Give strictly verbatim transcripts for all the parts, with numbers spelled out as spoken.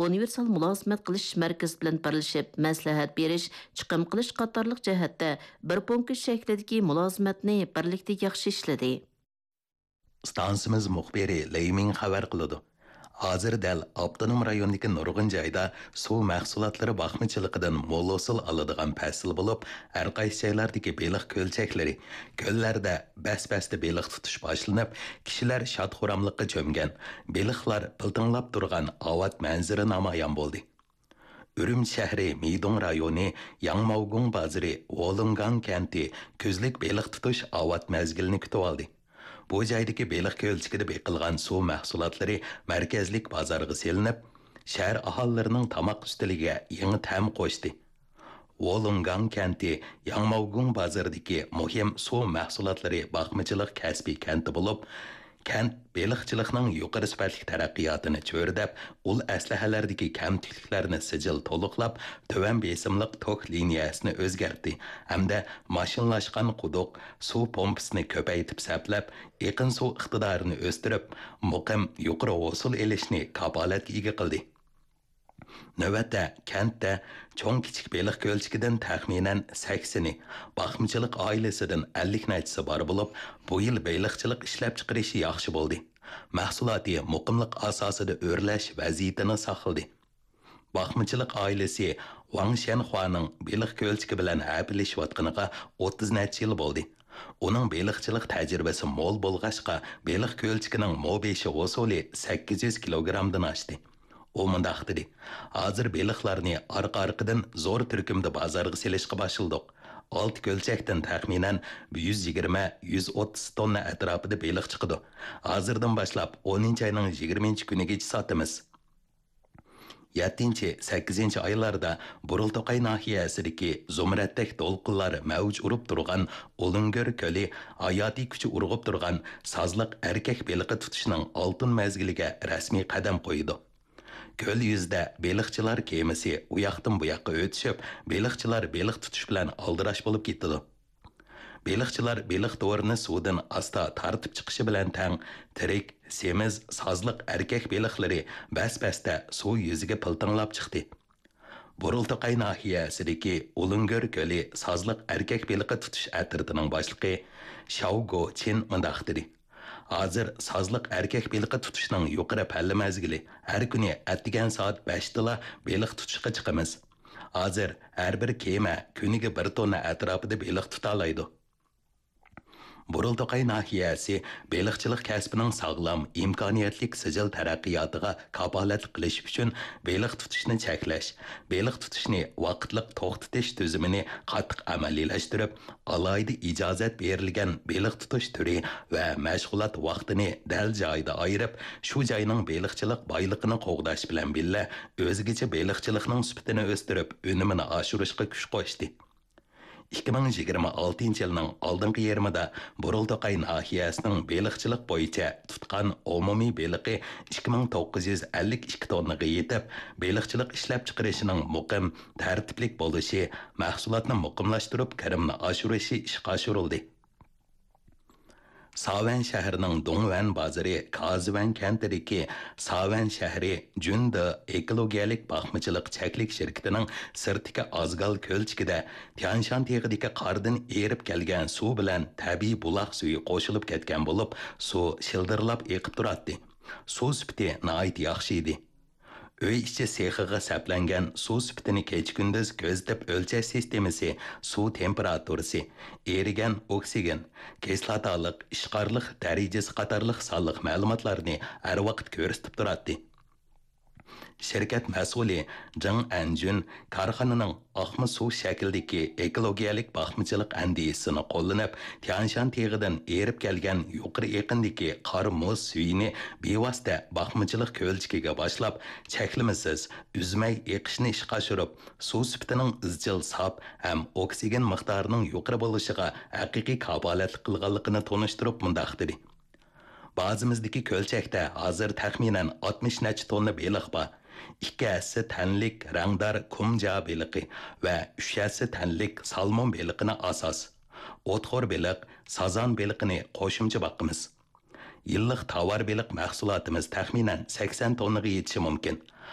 ئۇنىۋېرسال مۇلازىمەت قىلىش مەركىزى بىلەن بىرلىشىپ مەسلىھەت بېرىش، چىقىم قىلىش قاتارلىق جەھەتتە بىر پونكىت شەكلىدىكى مۇلازىمەتنى بىرلىكتە ياخشى ئىشلىدى. ئىستانسىمىز مۇخبىرى لېي مىڭ خەۋەر قىلىدۇ. ھازىر دەل ئاپتونوم رايوندىكى نۇرغۇن جايدا سۇ مەھسۇلاتلىرى باقمىچىلىقىدىن مول ھوسۇل ئالىدىغان پەسىل بولۇپ، ھەر قايسى جايلاردىكى بېلىق كۆلچەكلىرى، كۆللەردە بەس-بەستە بېلىق تۇتۇش باشلىنىپ، كىشىلەر شاد-خۇراملىققا چۆمگەن، بېلىقلار پىلتىڭلاپ تۇرغان ئاۋات مەنزىرە نامايان بولدى. ئۈرۈمچى شەھىرى مىدۇڭ رايونى ياڭماۋگۇڭ بازىرى ۋولۇڭگاڭ كەنتى كۈزلۈك بېلىق تۇتۇش ئاۋات مەزگىلىنى كۈتۈۋالدى. بۇ جايدىكى بېلىق كۆلچىكىدە بېقىلغان سۇ مەھسۇلاتلىرى مەركەزلىك بازارغا سېلىنىپ، شەھەر ئاھالىلىرىنىڭ تاماق ئۈستىلىگە يېڭى تەم قوشتى. ۋولۇڭگاڭ كەنتى ياڭماۋگۇڭ بازىرىدىكى مۇھىم سۇ مەھسۇلاتلىرى باقمىچىلىق كەسپىي كەنتى بولۇپ، كەنت بېلىقچىلىقنىڭ يۇقىرى سۈپەتلىك تەرەققىياتىنى چۆرىدەپ، ئۇل ئەسلىھەلەردىكى كەمتۈكلۈكلەرنى سىجىل تولۇقلاپ، تۆۋەن بېسىملىق توك لىنىيەسىنى ئۆزگەرتتى ھەمدە ماشىنىلاشقان قۇدۇق، سۇ پومپىسىنى كۆپەيتىپ سەپلەپ، ئېقىن سۇ ئىقتىدارىنى ئۆستۈرۈپ، مۇقىم يۇقىرى ھوسۇل ئېلىشنى كاپالەتكە ئىگە قىلدى. نۆۋەتتە كەنتتە چوڭ-كىچىك بېلىق كۆلچىكىدىن تەخمىنەن سەكسىنى، باقمىچىلىق ئائىلىسىدىن ئەللىك نەچچىسى بار بولۇپ، بۇ يىل بېلىقچىلىق ئىشلەپچىقىرىشى ياخشى بولدى. مەھسۇلاتى مۇقىملىق ئاساسىدا ئۆرلەش ۋەزىيىتىنى ساقلىدى. باقمىچىلىق ئائىلىسى ۋاڭ شيەنخۇانىڭ بېلىق كۆلچىكى بىلەن ھەپىلىشىۋاتقىنىغا ئوتتۇز نەچچە يىل بولدى. ئۇنىڭ بېلىقچىلىق تەجرىبىسى مول بولغاچقا، بېلىق كۆلچىكىنىڭ مو بېشى ھوسۇلى سەككىز يۈز كىلوگرامدىن ئاشتى. ئۇ مۇنداق دېدى، ھازىر بېلىقلارنى ئارقا-ئارقىدىن زور تۈركۈمدە بازارغا سېلىشقا باشلىدۇق. ئالتە كۆلچەكتىن تەخمىنەن يۈز يىگىرمە، يۈز ئوتتۇز توننا ئەتراپىدا بېلىق چىقىدۇ. ھازىردىن باشلاپ ئونىنچى ئاينىڭ يىگىرمىنچى كۈنىگىچە ساتىمىز. يەتتىنچى، سەككىزىنچى ئايلاردا بۇرۇلتوقاي ناھىيەسىدىكى زۇمرەتتەك دولقۇنلار مەۋج ئۇرۇپ تۇرغان ئۇلۇڭگۆر كۆلى ھاياتىي كۈچى ئۇرغۇپ تۇرغان سازلىق ئەركەك بېلىقى تۇتۇشنىڭ ئالتۇن مەزگىلىگە رەسمىي قەدەم قويىدۇ. كۆل يۈزىدە بېلىقچىلار كېمىسى ئۇياقتىن بۇياققا ئۆتۈشۈپ، بېلىقچىلار بېلىق تۇتۇش بىلەن ئالدىراش بولۇپ كېتىدۇ. بېلىقچىلار بېلىق تورىنى سۇدىن ئاستا تارتىپ چىقىشى بىلەن تەڭ، تىرىك، سېمىز، سازلىق ئەركەك بېلىقلىرى بەس-بەستە سۇ يۈزىگە پىلتىڭلاپ چىقتى. بۇرۇلتوقاي ناھىيەسىدىكى ئۇلۇڭگۆر كۆلى سازلىق ئەركەك بېلىقى تۇتۇش ئەترىتىنىڭ باشلىقى شاۋ گو چىن مۇنداق دېدى، ھازىر سازلىق ئەركەك بېلىقى تۇتۇشنىڭ يۇقىرى پەللە مەزگىلى، ھەر كۈنى ئەتىگەن سائەت بەشتىلا بېلىق تۇتۇشقا چىقىمىز. ھازىر ھەر بىر كېمە كۈنىگە بىر توننا ئەتراپىدا بېلىق تۇتالايدۇ. بۇرۇلتوقاي ناھىيەسى بېلىقچىلىق كەسپىنىڭ ساغلام، ئىمكانىيەتلىك سىجىل تەرەققىياتىغا كاپالەتلىك قىلىش ئۈچۈن، بېلىق تۇتۇشنى چەكلەش، بېلىق تۇتۇشنى ۋاقىتلىق توختىتىش تۈزۈمىنى قاتتىق ئەمەلىيلەشتۈرۈپ، ئالاھىدە ئىجازەت بېرىلگەن بېلىق تۇتۇش تۈرى ۋە مەشغۇلات ۋاقتىنى دەل جايىدا ئايرىپ، شۇ جاينىڭ بېلىقچىلىق بايلىقىنى قوغداش بىلەن بىللە، ئۆزگىچە بېلىقچىلىقنىڭ سۈپىتىنى ئۆستۈرۈپ، ئۈنۈمىنى ئاشۇرۇشقا كۈچ قوشتى. ئىككى مىڭ يىگىرمە ئالتىنچى يىلنىڭ ئالدىنقى يېرىمىدا بۇرۇلتوقاي ناھىيەسىنىڭ بېلىقچىلىق بويىچە تۇتقان ئومۇمىي بېلىقى ئىككى مىڭ توققۇز يۈز ئەللىك ئىككى توننىغا يېتىپ، بېلىقچىلىق ئىشلەپچىقىرىشىنىڭ مۇقىم، تەرتىپلىك بولۇشى، مەھسۇلاتنى مۇقىملاشتۇرۇپ، كىرىمنى ئاشۇرۇشى ئىشقا ئاشۇرۇلدى. ساۋەن شەھىرىنىڭ دۇڭۋەن بازىرى كازىۋەن كەنتىدىكى ساۋەن شەھىرى جۈندې ئېكولوگىيەلىك باقمىچىلىق چەكلىك شىركىتىنىڭ سىرتتىكى ئازگال كۆلچىكىدە تيانشان تېغىدىكى قاردىن ئېرىپ كەلگەن سۇ بىلەن تەبىئىي بۇلاق سۈيى قوشۇلۇپ كەتكەن بولۇپ، سۇ شىلدىرلاپ ئېقىپ تۇراتتى. سۇ سۈپىتى ناھايىتى ياخشى ئىدى. ئۆي ئىچى سېخىغا سەپلەنگەن سۇ سۈپىتىنى كېچە-كۈندۈز كۆزىتىپ ئۆلچەش سىستېمىسى، سۇ تېمپېراتۇرىسى، ئېرىگەن ئوكسىگېن، كىسلاتالىق، ئىشقارلىق دەرىجىسى قاتارلىق سانلىق مەلۇماتلارنى ھەر ۋاقىت كۆرسىتىپ تۇراتتى. شىركەت مەسئۇلى جېڭ ئەنجۈن كارخانىنىڭ ئاقما سۇ شەكلىدىكى ئېكولوگىيەلىك باقمىچىلىق ئەندىزىسىنى قوللىنىپ، تيانشان تېغىدىن ئېرىپ كەلگەن يۇقىرى ئېقىندىكى قار مۇز سۈيىنى بىۋاسىتە باقمىچىلىق كۆلچىكىگە باشلاپ، چەكلىمىسىز، ئۈزمەي ئېقىشىنى ئىشقا ئاشۇرۇپ، سۇ سۈپىتىنىڭ ئىزچىل ساپ ھەم ئوكسىگېن مىقدارىنىڭ يۇقىرى بولۇشىغا ھەقىقىي كاپالەتلىك قىلغانلىقىنى تونۇشتۇرۇپ مۇنداق دېدى. بازىمىزدىكى كۆلچەكتە ھازىر تەخمىنەن ئاتمىش نەچچە توننا بېلىق بار. ئىككى ھەسسە تەنلىك رەڭدار كۇمجا بېلىقى ۋە ئۈچ ھەسسە تەنلىك سالمون بېلىقىنى ئاساس، ئوتخور بېلىق، سازان بېلىقىنى قوشۇمچە باقىمىز. يىللىق تاۋار بېلىق مەھسۇلاتىمىز تەخمىنەن سەكسەن توننىغا يېتىشى مۇمكىن.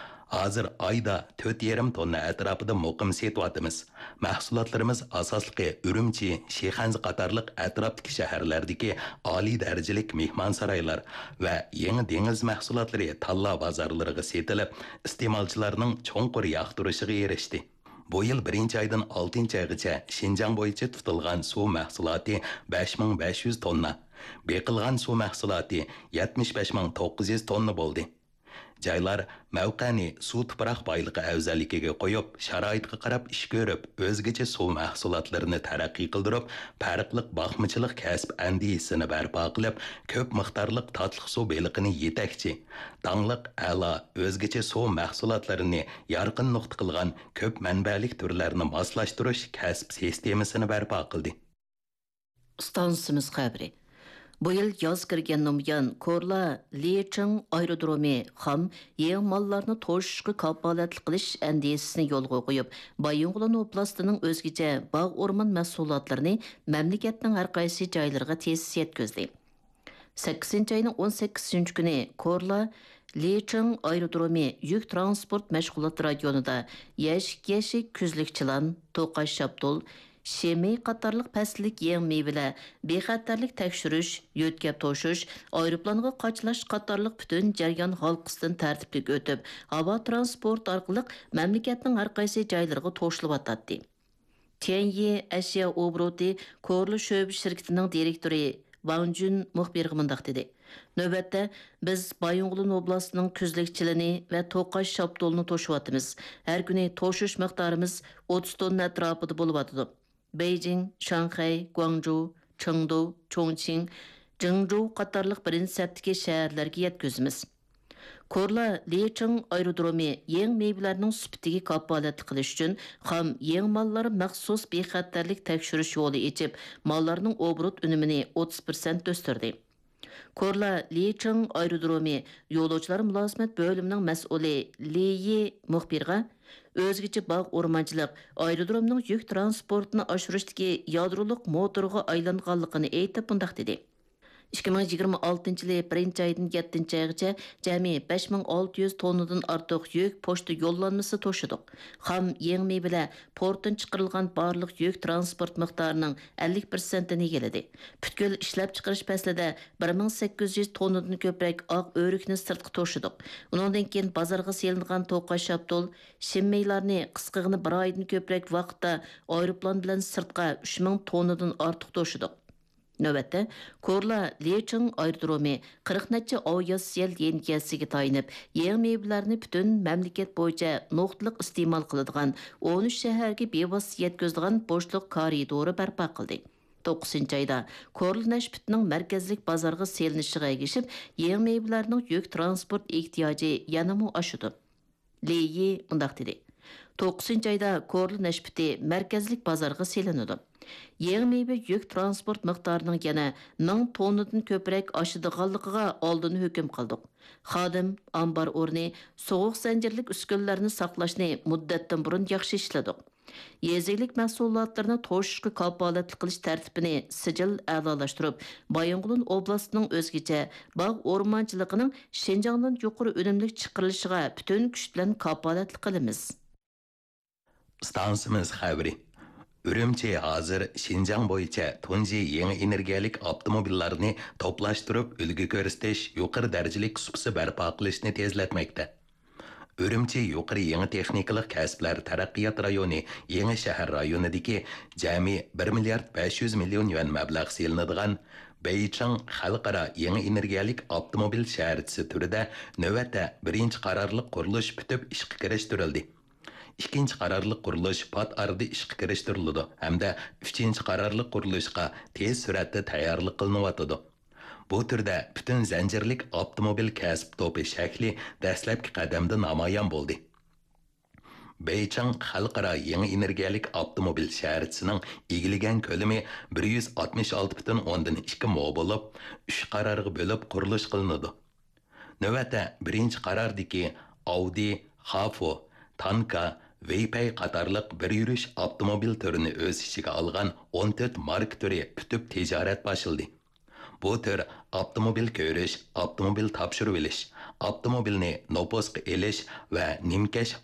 ھازىر ئايدا تۆت يېرىم توننا ئەتراپىدا مۇقىم سېتىۋاتىمىز. مەھسۇلاتلىرىمىز ئاساسلىقى ئۈرۈمچى، شىخەنزە قاتارلىق ئەتراپتىكى شەھەرلەردىكى ئالىي دەرىجىلىك مېھمانسارايلار ۋە يېڭى دېڭىز مەھسۇلاتلىرى تاللا بازارلىرىغا سېتىلىپ، ئىستېمالچىلارنىڭ چوڭقۇر ياقتۇرۇشىغا ئېرىشتى. بۇ يىل بىرىنچى ئايدىن ئالتىنچى ئايغىچە شىنجاڭ بويىچە تۇتۇلغان سۇ مەھسۇلاتى بەش مىڭ بەش يۈز توننا، بېقىلغان سۇ مەھسۇلاتى يەتمىش بەش مىڭ توققۇز يۈز توننا بولدى. جايلار مەۋقەنى سۇ تۇپراق بايلىقى ئەۋزەللىكىگە قويۇپ، شارائىتقا قاراپ ئىش كۆرۈپ، ئۆزگىچە سۇ مەھسۇلاتلىرىنى تەرەققىي قىلدۇرۇپ، پەرقلىق باقمىچىلىق كەسىپ ئەندىزىسىنى بەرپا قىلىپ، كۆپ مىقدارلىق تاتلىق سۇ بېلىقىنى يېتەكچى، داڭلىق، ئەلا، ئۆزگىچە سۇ مەھسۇلاتلىرىنى يارقىن نۇقتا قىلغان كۆپ مەنبەلىك تۈرلەرنى ماسلاشتۇرۇش كەسىپ سىستېمىسىنى بەرپا قىلدى. ئىستانسىمىز خەۋىرى. بۇ يىل ياز كىرگەندىن بۇيان، كورلا لىچىڭ ئايرودرومى خام، يېڭى ماللارنى توشۇشقا كاپالەتلىك قىلىش ئەندىزىسىنى يولغا قويۇپ، بايىنغولىن ئوبلاستىنىڭ ئۆزگىچە باغ ئورمان مەھسۇلاتلىرىنى مەملىكەتنىڭ ھەر قايسى جايلىرىغا تېز يەتكۈزدى. سەككىزىنچى ئاينىڭ ئون سەككىزىنچى كۈنى كورلا لىچىڭ ئايرودرومى يۈك تىرانسپورت مەشغۇلات رايونىدا يەشىك يەشىك كۈزلۈك چىلان، توقاچ شاپتۇل، شىمى قاتارلىق پەسىللىك يېڭى مېۋىلەر، بىخەتەرلىك تەكشۈرۈش، يۆتكەپ توشۇش، ئايروپىلانغا قاچىلاش قاتارلىق پۈتۈن جەريان ھالقىسىدىن تەرتىپلىك ئۆتۈپ، ھاۋا تىرانسپورتى ئارقىلىق مەملىكەتنىڭ ھەر قايسى جايلىرىغا توشۇلۇۋاتاتتى. تيەنيى ئەشيا ئوبوروتى كورلا شۆبە شىركىتىنىڭ دىرېكتورى ۋاڭ جۈن مۇخبىرغا مۇنداق دېدى: نۆۋەتتە، بىز بايىنغولىن ئوبلاستىنىڭ كۈزلۈك چىلىنى ۋە توقاچ شاپتۇلىنى توشۇۋاتىمىز. ھەر كۈنى توشۇش مىقدارىمىز ئوتتۇز توننا ئەتراپىدا بولۇۋاتىدۇ. بېيجىڭ، شاڭخەي، گۇاڭجۇ، چېڭدۇ، چۇڭچىڭ، جېڭجۇ قاتارلىق بىرىنچى سەپتىكى شەھەرلەرگە يەتكۈزىمىز. كورلا لىچىڭ ئايرودرومى يېڭى مېۋىلەرنىڭ سۈپىتىگە كاپالەتلىك قىلىش ئۈچۈن خام يېڭى ماللار مەخسۇس بىخەتەرلىك تەكشۈرۈش يولى ئېچىپ، ماللارنىڭ ئوبوروت ئۈنۈمىنى ئوتتۇز پىرسەنت ئۆستۈردى. كورلا لىچىڭ ئايرودرومى يولۇچىلار مۇلازىمەت بۆلۈمىنىڭ مەسئۇلى لى يى مۇخبىرغا ئۆزگىچە باغ ئورمانچىلىق ئايرودرومنىڭ يۈك تىرانسپورتىنى ئاشۇرۇشتىكى يادرولۇق موتورغا ئايلانغانلىقىنى ئېيتىپ مۇنداق دېدى: ئىككى مىڭ يىگىرمە ئالتىنچى يىلى بىرىنچى ئايدىن يەتتىنچى ئايغىچە جەمئىي بەش مىڭ ئالتە يۈز توننىدىن ئارتۇق يۈك پوچتا يوللانمىسى توشىدۇق. خام يېڭى مېۋىلەر پورتتىن چىقىرىلغان بارلىق يۈك تىرانسپورت مىقدارىنىڭ ئەللىك پىرسەنتىنى ئىگىلىدى. پۈتكۈل ئىشلەپچىقىرىش پەسلىدە بىر مىڭ سەككىز يۈز توننىدىن كۆپرەك ئاق ئۆرۈكنى سىرتقا توشىدۇق. ئۇنىڭدىن كېيىن بازارغا سېلىنغان توقاچ شاپتۇل، شىممىلارنى قىسقىغىنە بىر ئايدىن كۆپرەك ۋاقىتتا ئايروپىلان بىلەن سىرتقا ئۈچ مىڭ توننىدىن ئارتۇق توشىدۇق. نۆۋەتتە، كورلا لىچىڭ ئايرودرومى قىرىق نەچچە ئاۋىئاتسىيە لىنىيەسىگە تايىنىپ، يېڭى مېۋىلەرنى پۈتۈن مەملىكەت بويىچە نۇقتىلىق ئىستېمال قىلىدىغان ئون ئۈچ شەھەرگە بىۋاسىتە يەتكۈزىدىغان بوشلۇق كارىدورى بەرپا قىلدى. توققۇزىنچى ئايدا كورلا نەشپۈتىنىڭ مەركەزلىك بازارغا سېلىنىشىغا ئەگىشىپ، يېڭى مېۋىلەرنىڭ يۈك تىرانسپورت ئېھتىياجى يەنىمۇ ئاشىدۇ. لى يى مۇنداق دېدى: توققۇزىنچى ئايدا كورلا نەشپۈتى مەركەزلىك بازارغا سېلىنىدۇ. يېڭى مېۋە يۈك تىرانسپورت مىقدارىنىڭ يەنە مىڭ توننىدىن كۆپرەك ئاشىدىغانلىقىغا ئالدىن ھۆكۈم قىلدۇق. خادىم، ئامبار ئورنى، سوغۇق زەنجىرلىك ئۈسكۈنىلەرنى ساقلاشنى مۇددەتتىن بۇرۇن ياخشى ئىشلىدۇق. يېزا ئىگىلىك مەھسۇلاتلىرىنى توشۇشقا كاپالەتلىك قىلىش تەرتىپىنى سىجىل ئەلالاشتۇرۇپ، بايىنغولىن ئوبلاستىنىڭ ئۆزگىچە باغ ئورمانچىلىقىنىڭ شىنجاڭدىن يۇقىرى ئۈنۈملۈك چىقىرىلىشىغا پۈتۈن كۈچ بىلەن كاپالەتلىك قىلىمىز. ئىستانسىمىز خەۋىرى. ئۈرۈمچى ھازىر شىنجاڭ بويىچە تۇنجى يېڭى ئېنېرگىيەلىك ئاپتوموبىللارنى توپلاشتۇرۇپ ئۈلگە كۆرسىتىش، يۇقىرى دەرىجىلىك سۇپىسى بەرپا قىلىشنى تېزلەتمەكتە. ئۈرۈمچى يۇقىرى يېڭى تېخنىكىلىق كەسىپلەر تەرەققىيات رايونى يېڭى شەھەر رايونىدىكى جەمئىي بىر مىليارد بەش يۈز مىليون يۈەن مەبلەغ سېلىنىدىغان بېيچىڭ خەلقئارا يېڭى ئېنېرگىيەلىك ئاپتوموبىل شەھەرچىسى تۈرىدە نۆۋەتتە بىرىنچى قارارلىق قۇرۇلۇش پۈتۈپ ئىشقا كىرىشتۈرۈلدى. ئىككىنچى قارارلىق قۇرۇلۇش پات ئارىدا ئىشقا كىرىشتۈرۈلىدۇ ھەمدە ئۈچىنچى قارارلىق قۇرۇلۇشقا تېز سۈرئەتتە تەييارلىق قىلىنىۋاتىدۇ. بۇ تۈردە پۈتۈن زەنجىرلىك ئاپتوموبىل كەسىپ توپى شەكلى دەسلەپكى قەدەمدە نامايان بولدى. بېيچىڭ خەلقئارا يېڭى ئېنېرگىيەلىك ئاپتوموبىل شەھەرچىسىنىڭ ئىگىلىگەن كۆلىمى بىر يۈز ئاتمىش ئالتە پۈتۈن ئوندىن ئىككى مو بولۇپ، ئۈچ قارارغا بۆلۈپ قۇرۇلۇش قىلىنىدۇ. نۆۋەتتە بىرىنچى قاراردىكى ئاۋدى، خافو، تانكا، ۋېيپەي قاتارلىق بىر يۈرۈش ئاپتوموبىل تۈرىنى ئۆز ئىچىگە ئالغان ئون تۆت ماركا تۈرى پۈتۈپ تىجارەت باشلىدى. بۇ تۈر ئاپتوموبىل كۆرۈش، ئاپتوموبىل تاپشۇرۇۋېلىش، ئاپتوموبىلنى نوپۇسقا ئېلىش ۋە نىمكەش